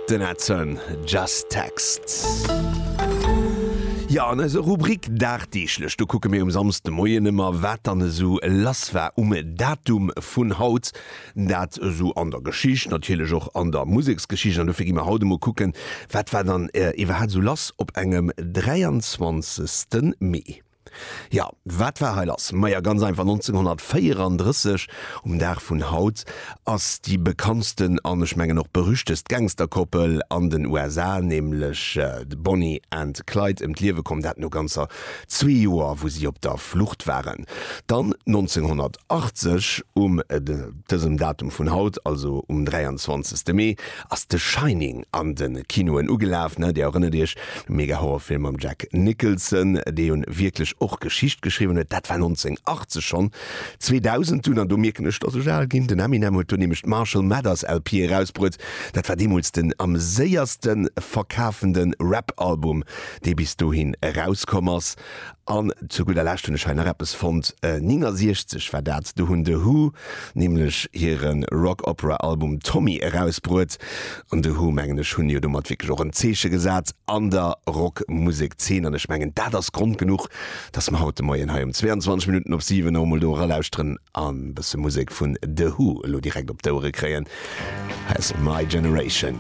Den Edson, Just Text. Jo, an eiser Rubrik Dagdeeglech, do kucke mir um Samsdemoien ëmmer, wat dann esou lass war um Datum vun haut. Dat esou an der Geschicht, natierlech och an der Museksgeschicht. An dofir gi mer haut emol kucken, wat war dann iwwerhaapt esou lass op engem 23. Mee. Jo, wat war hei lass? Maja, ganz einfach, 1934, um Dag vun haut, ass déi bekanntsten an ech mengen och berüchtegst Gangsterkoppel an den USA, nämlech d'Bonnie and Clyde, ëm d'Liewe komm. Dat no ganzer zwee Joer, wou si op der Flucht waren. Dann 1980, um dësem Datum vun haut, also um 23. Mee, ass The Shining an de Kinoen ugelaf, ne? Dir erënnert iech, de mega Horrorfilm mam Jack Nicholson, dee jo wierklech och Geschicht geschriwwen huet. Dat war 1980 schonn. 2000 dunn, an do mierken ech, dass ech al ginn, den Eminem huet do nämlech d'Marshall Mathers LP erausbruet. Dat war deemools den am séierste verkafende Rap-Album, dee bis dohin erauskomm ass. An zu gudder Lescht hunn ech hei nach eppes fonnt, 69 war dat, do hunn The Who nämlech hire Rock-Opera-Album Tommy erausbruet. An The Who, mengen ech, hunn jo domat wierklech och en Zeeche gesat an der Rockmusek-Zeen. An ech mengen, dat ass Grond genuch, dass mer haut de Moien hei um 22 Minutten op 7 och emol do eralauschteren an e bësse Musek vun The Who elo direkt op d'Ouere kréien. Hei ass My Generation.